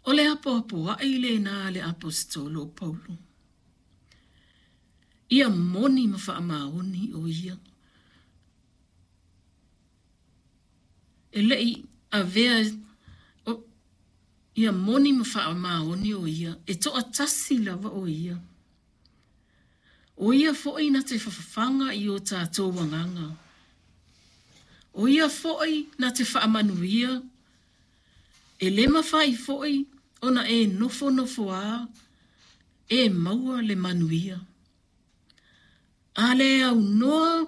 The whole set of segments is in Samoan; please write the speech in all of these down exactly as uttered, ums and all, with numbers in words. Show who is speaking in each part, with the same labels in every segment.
Speaker 1: O le apoapoai lena a le Aposetolo o Paulo. Ia moni ma faamaoni o ia. E le'i avea o, ia moni ma faamaoni o ia, e to'atasi lava o ia. O ia fo'i na te fafaga i o tātou agaga. O ia fo'i na te faamanuia, e le mafai fo'i ona e nofonofoā e maua le manuia. A le aunoa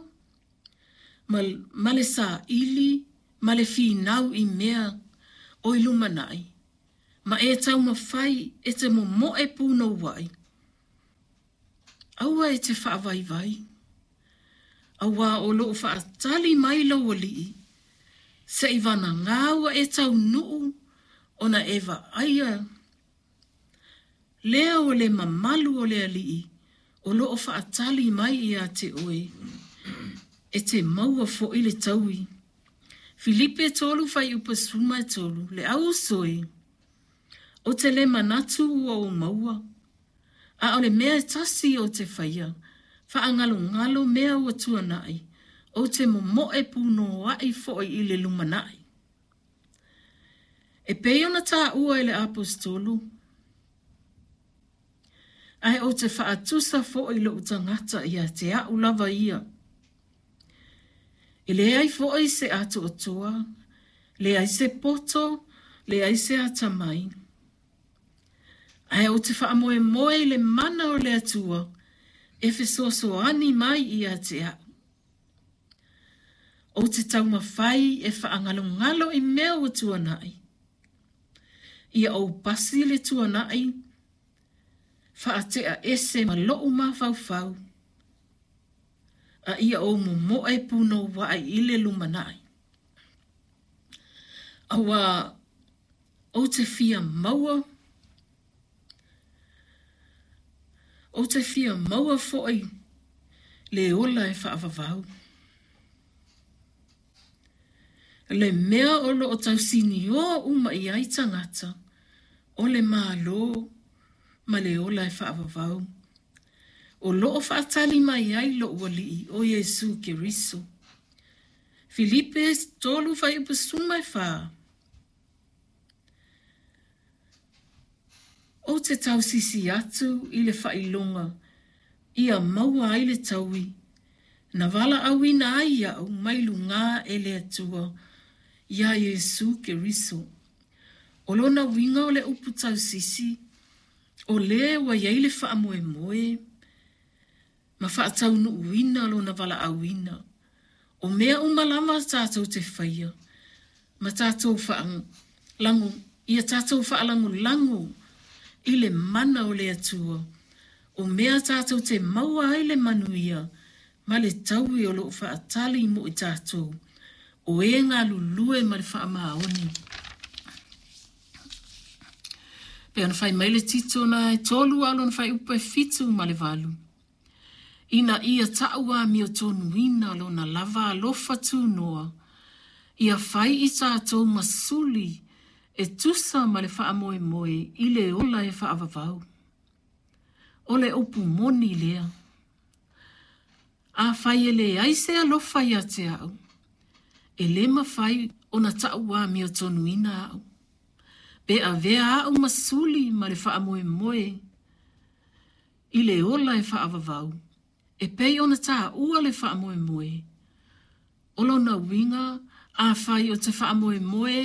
Speaker 1: ma, ma le sāili ma le finau i mea o i lumana'i, ma e taumafai e te momo'e punoua'i, aua e te faavaivai, auā o lo'o faatali mai lou alii, se'i vanagā ua e taunuu ona e vaaia lea o le mamalu o le alii o lo'o faatali mai ia te oe, e te maua fo'i le taui. Filipe tolu fuaiupu sefulumatolu, le au uso e, ou te le manatu ua ou maua, a o le mea e tasi ou te faia, faagalogalo mea ua tuana'i, ou te momo'e punoa'i fo'i i le lumana'i. E pei ona tāua e le Aposetolo, ae ou te faatusa fo'i lo'u tagata ia te a'u lava ia. E leai fo'i se atoatoa, leai se poto, leai se atamai. Ae ou te faamoemoe i le mana o le Atua e fesoasoani mai ia te a'u. Ou te taumafai e faagalogalo i mea ua tuana'i. Ia ou pasi le tuana'i, faatea ese ma lo'u mafaufau, a ia ou momo'e punoua'i i le lumana'i. Auā ou te fia maua, ou te fia maua fo'i le ola e faavavau. Le mea o lo'o tausiniō uma i ai tagata, o le Mālō ma le ola e faavavau. O lo'o faatali mai ai lo'u alii o Iesu Keriso. Filipe tolu fuaiupu sefulufa. Ou te tausisi atu i le faailoga ia maua ai le taui, na valaauina ai a'u mai lugā e le Atua iā Iesu Keriso. O lona uiga o le upu tausisi, o lē ua i ai le faamoemoe ma faataunuuina lona valaauina. O mea uma lava tātou te faia, ma tātou faalago, ia tātou faalagolago i le mana o le Atua. O mea tātou te maua ai le manuia ma le taui o lo'o faatali mo i tātou, o e galulue ma le faamaoni. Pe ona fai mai le Tito na e tolu a o lona fuaiupu e fitu ma le valu. Ina ia ta'u amiotonuina lona lava alofa tunoa, ia fai i tātou ma suli e tusa ma le faamoemoe i le ola e faavavau. O le upu moni lea. Afai e leai se alofa ia te a'u, e lē mafai ona ta'u amiotonuina a'u. Pe avea a'u ma suli ma le faamoemoe i le ola e faavavau, e pei ona tāua le faamoemoe. O lona uiga, afai o te faamoemoe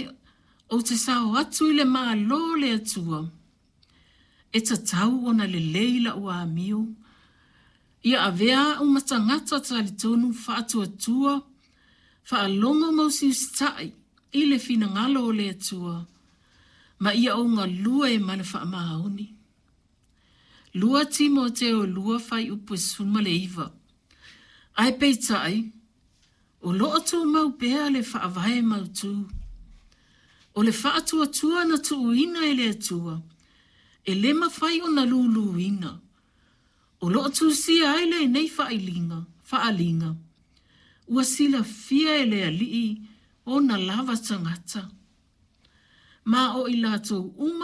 Speaker 1: ou te sao atu i le Mālō o le Atua, e tatau ona lelei la'u amio, ia avea a'u ma tagata talitonu faatuatua, faalogo ma usiusita'i i le finagalo o le Atua, ma ia ou galue ma le faamaoni. Lua Timoteo lua fuaiupu e sefuluiva. Ae peita'i, o lo'o tumau pea le faavae mautū. O le faatuatua na tuuina e le Atua, e lē mafai ona lūlūina. O lo'o tusia ai lenei faailiga, faaliga, ua silafia e le alii ona lava tagata. Ma o i latou uma